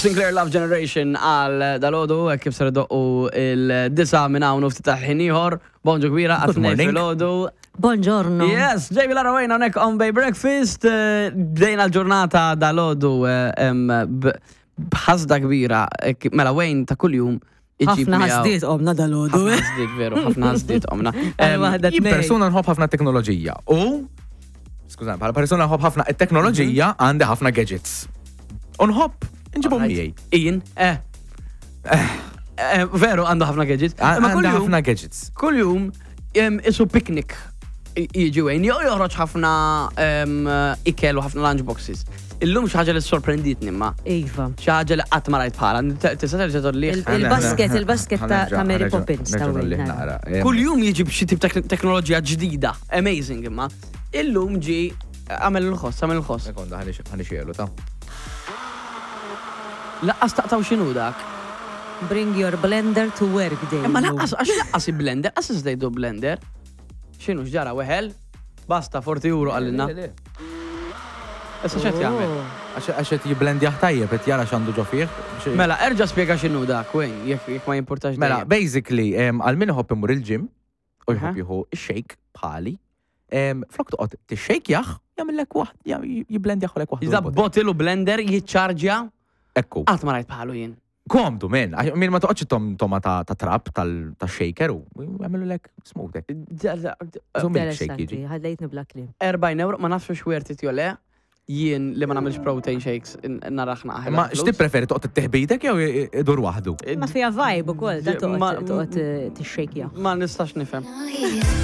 Sinclair Love Generation għal dalodu, hekk kif ser doqqu il-disa minn hawn u ftit ta' ħin ieħor. Bonġu kbira Good għat morning. filgħodu. Buongiorno. Yes, Jamie Lara Wayne hawnhekk on Bay Breakfast. Bdejna l-ġurnata dalodu b'ħasda kbira. Mela Wayne ta' kuljum iġib Ħafna miegħu- ħasdiet qomna dalodu. Ħafna ħasdiet, veru, ħafna ħasdiet omna. Għal waħda Jien tnejn. persuna nħobb ħafna teknoloġija u skużani, bħala persuna nħobb ħafna it-teknoloġija għandi ħafna gadgets. U nħobb nġibhom miegħi. Ian, eh. Veru, għandu ħafna gadgets. Imma Għandi kuljum, ħafna gadgets. kuljum isu picnic jiġi Wayne, jew joħroġ ħafna ikel u ħafna lunch boxes. Illum xi ħaġa li sorprenditni ma. Iva. Xi ħaġa li qatt ma rajt bħala. Tista' terġa' tolli. Il-basket, il-basket ta' Mary Poppins ta' Wayne. nara. Kuljum jiġi b'xi tip ta' teknoloġija ġdida. Amazing imma. Illum ġi għamel il-ħoss, għamel il-ħoss. Sekonda, ħanixelu ta' Laqqas taqtaw x'inhu dak. Bring your blender to work day. Imma laqqas, għax laqqas i-blender, għas iżdejdu blender. X'inhu x'ġara weħel? Basta, 40 euro għallinna. Issa x'qed jagħmel? Oh. Għax qed jiblendjah tajjeb, qed jara x'għandu ġo fih. Mela, erġa' spjega x'inhu dak, Wayne, jekk ma jimpurtax. Mela, dejjem. basically, għal min iħobb imur il-gym u Aha. jħobb jieħu shake bħali, flok toqgħod tixxejkjah, jagħmellek waħd, jiblendjah lek waħdu. Iżda bottle u blender jiċċarġja, Ekku. qatt ma rajt bħalu jien. Komdu, men, għax min ma toqgħodx tom toma ta' trap tal-shaker u jagħmlu lek smooth. hekk. So milkshake jiġi. Interessanti, ħallejtni bla kliem. 40 euro, ma nafx xwerti jew le, jien li ma nagħmilx protein shakes naraħna aħjar. Ma x'tippreferi toqgħod tittieħ jew idur waħdu? Ma fija vibe ukoll, da Ma- toqgħod tixxejkja. Ma nistax nifhem.